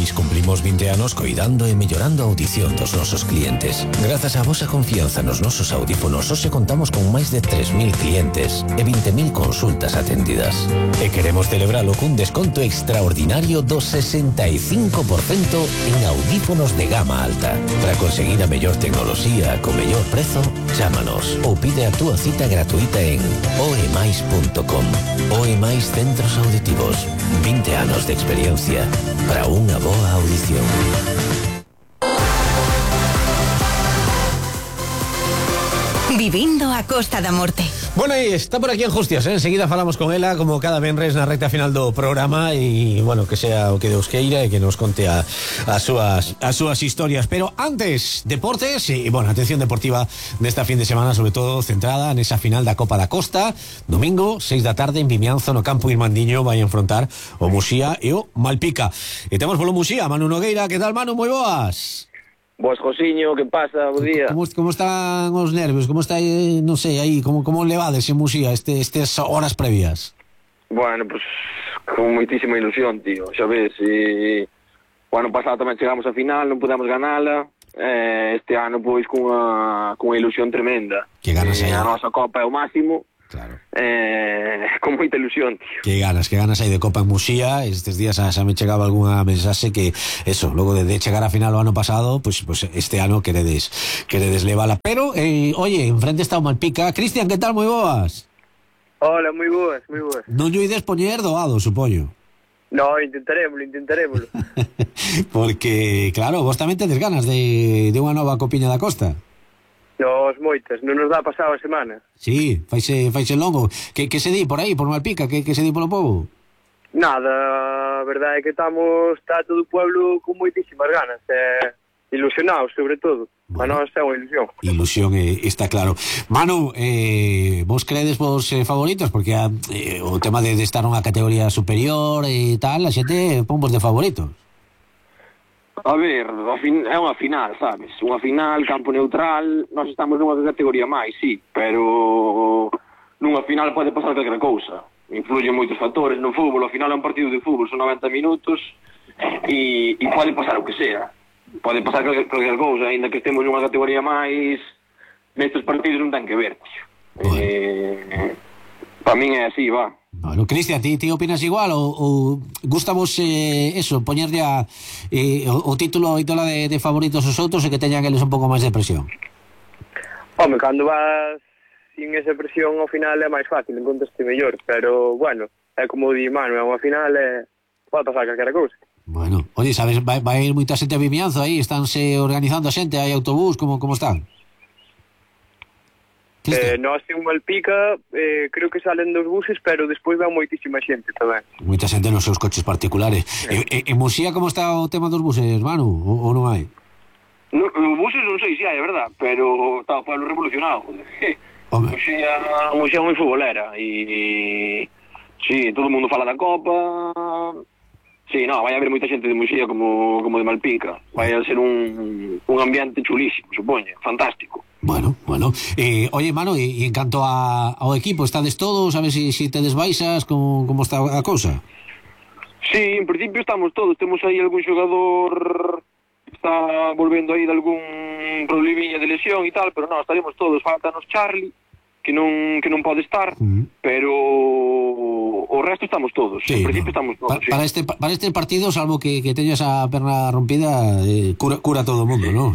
Mais cumplimos 20 anos coidando e mellorando a audición dos nosos clientes. Grazas á vosa confianza nos nosos audífonos, hoxe contamos con máis de 3.000 clientes e 20.000 consultas atendidas. E queremos celebralo cun desconto extraordinario do 65% en audífonos de gama alta. Para conseguir a mellor tecnoloxía co mellor prezo, chámanos ou pide a túa cita gratuita en oemais.com. Oemais Centros Auditivos. 20 anos de experiencia para unha boa audición. Vivindo a Costa da Morte. Bueno, e está por aquí en Justias, enseguida falamos con ela como cada venres na recta final do programa e, bueno, que sea o que Deus queira e que nos conte as súas historias. Pero antes, deportes e, bueno, atención deportiva desta fin de semana, sobre todo centrada nesa final da Copa da Costa. Domingo, 6 da tarde en Vimianzo, no campo Irmandiño, vai a enfrontar o Muxía e o Malpica. E temos polo Muxía, Manu Nogueira. Que tal, Manu? Moi boas. Boas, Josiño, que pasa? Bo día. Como están os nervios? Como está, non sei, aí, como levades en Muxía estes horas previas? Bueno, pues con moitísima ilusión, tío. Xa ves, o ano pasado tamén chegamos a final, non pudemos ganala. Este ano, pois, cunha ilusión tremenda. Que ganas aí. A nosa Copa é o máximo. Claro. Con moita ilusión, tío. Que ganas aí de Copa en Muxía. Estes días xa me chegaba algunha mensaxe que eso, logo de chegar a final o ano pasado, pues este ano queredes levala. Pero, oye, enfrente está o Malpica. Cristian, que tal? Moi boas. Hola, moi boas. Non lle ides poñer doado, supoño. No, intentaremoslo. Porque, claro, vos tamén tedes ganas de unha nova Copiña da Costa. Nos moitas, non nos dá pasado a semana. Sí, faise longo. Que se di por aí, por Malpica? Que se di polo povo? Nada, a verdade é que está todo o pueblo con moitísimas ganas, ilusionados, sobre todo. Bueno, para nós é unha ilusión. Ilusión, está claro. Manu, vos credes vos favoritos? Porque o tema de estar nunha categoría superior e tal, a xente pon vos de favoritos. A ver, é unha final, sabes? Unha final, campo neutral, nós estamos nunha categoría máis, sí, pero nunha final pode pasar calquera cousa. Influyen moitos factores no fútbol, ao final é un partido de fútbol, son 90 minutos e pode pasar o que sea. Pode pasar calquera cousa, ainda que estemos nunha categoría máis, nestes partidos non ten que ver, tío. Para min é así, va. Bueno, Cristian, ti opinas igual ou gustamos eso, poñerlle o título e tola de favoritos aos outros e que teñan eles un pouco máis de presión? Home, cando vas sin esa presión ao final é máis fácil, encontraste mellor, pero bueno, é como di Manu, é unha final pode pasar calquera cousa. Bueno, oye, sabes, vai ir moita xente a Vimianzo aí, estánse organizando a xente, hai autobús, como están? Nós en Malpica creo que salen dos buses, pero despois vai moitísima xente tamén. Moita xente nos seus coches particulares. En Muxía como está o tema dos buses, Manu? Ou non hai? No, buses non sei se hai, é verdad, pero está o pueblo revolucionado. Muxía é moi futbolera e sí, todo o mundo fala da Copa. Sí, no, vai haber moita xente de Muxía como de Malpica. Vai a ser un ambiente chulísimo, supoño, fantástico. Bueno. Oye, Manu, e en canto ao equipo, estades todos? Sabes se tedes baixas? Como está a cousa? Sí, en principio estamos todos. Temos aí algún xogador que está volvendo aí de algún probleminha de lesión e tal, pero non, estaremos todos. Faltanos Charlie, que non pode estar, pero o resto estamos todos. Sí, en principio estamos todos. Para este partido, salvo que teñas a perna rompida, cura todo o mundo, ¿no?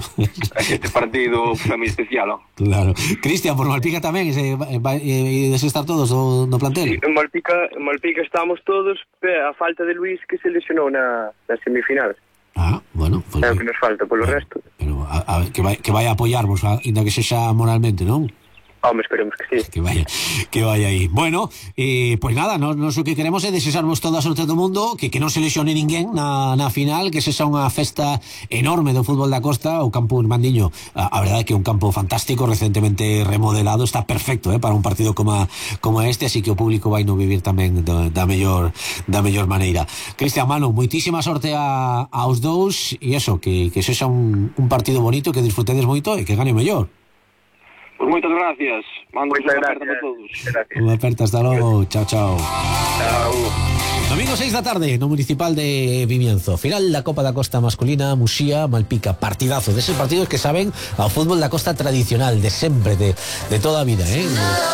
Este partido é moi especial, ¿no? Claro. Cristian, por Malpica tamén, ides estar todos no plantel? Sí, en Malpica estamos todos, a falta de Luis, que se lesionou na semifinal. Bueno, pues é o que nos falta, polo resto. Pero que vai a apoyarvos, ainda que sexa moralmente, non? Home, esperemos que sí. Que vaya aí. Bueno, pues nada, nos o que queremos é desexarvos toda a sorte do mundo, que non se lesione ninguén na final, que sexa unha festa enorme do fútbol da Costa. O campo Irmandiño, a verdade é que é un campo fantástico, recentemente remodelado, está perfecto para un partido como este, así que o público vai no vivir tamén da mellor maneira. Cristian, Manu, moitísima sorte aos dous, e eso, que sexa un partido bonito, que disfrutedes moito e que gane o mellor. Pues moitas gracias. Mando unha aperta para todos. Unha aperta, hasta logo. Chao. Chao. Domingo 6 da tarde no Municipal de Vimianzo. Final da Copa da Costa masculina, Muxía, Malpica. Partidazo, deses partidos que saben ao fútbol da costa tradicional, de sempre, de toda a vida,